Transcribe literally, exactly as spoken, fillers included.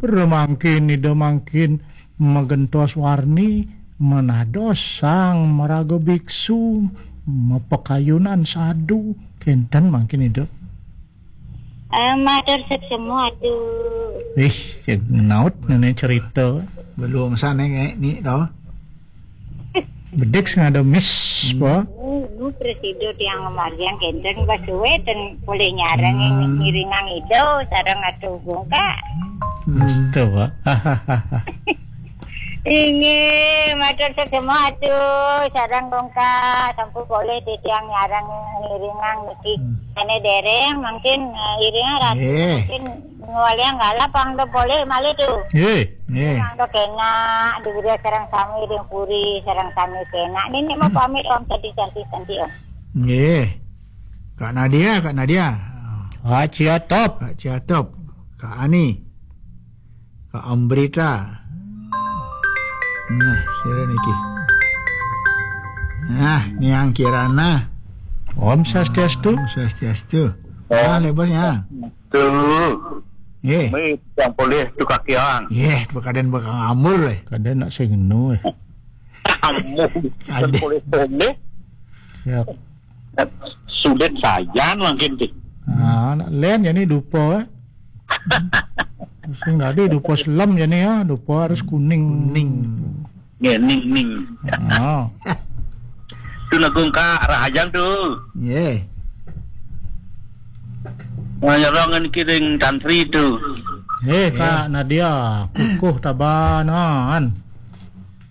Remangkin Ida mangkin magentos warni menados sang maraga biksu mapakayunan sadu. Kenten mangkin Ida. Eh, matur suksma, Atu. Ih, cek naut nenek cerita. Belum sana kayak ni tau. Bedik sing ada miss, apa? Nu presido tiang margiang kenten pas suwe ten polih nyareng ngiringang Ida sareng Atu Gungka. Itu, Pak. Inggih, matur suksma Atu sareng Gungka sampun polih titiang nyareng ngiringang niki. Ane dereng mungkin eh, iringan Ratu Nggih. Mungkin ngwaliang galap pang do polih malih tu. Nggih. Nggih. Pang do kenak, duwira sareng sami ring puri, sareng sami kenak. Nini mau pamit Om tadi cantik-cantik Om. Nggih. Kak Nadia, Kak Nadia. Kak Ciatop. Kak Ciatop. Kak Ani. Kak Ambrita. Nah, sira niki. Nah, niang Kirana. Om Swastiastu. Om Swastiastu. Ah, le bos ya. Tuh. Nggih. Mi yang boleh tu kaki ang. Nggih, pekaden bakal ngambul le. Kaden nak sing ngenu eh. Kamu. Ada. Boleh boleh. Ya. Sulit saja mungkin tu. Ah, nak len jani dupa eh. Sing tadi dupa selem jani ya, dupa harus kuning. Kuning. Ya, ning ning. Ah. Tu nagung ka rahajang tu. Nggih. Nganyarang niki ring tantri tu. Eh, Kak Nadia, kukuh tabanan.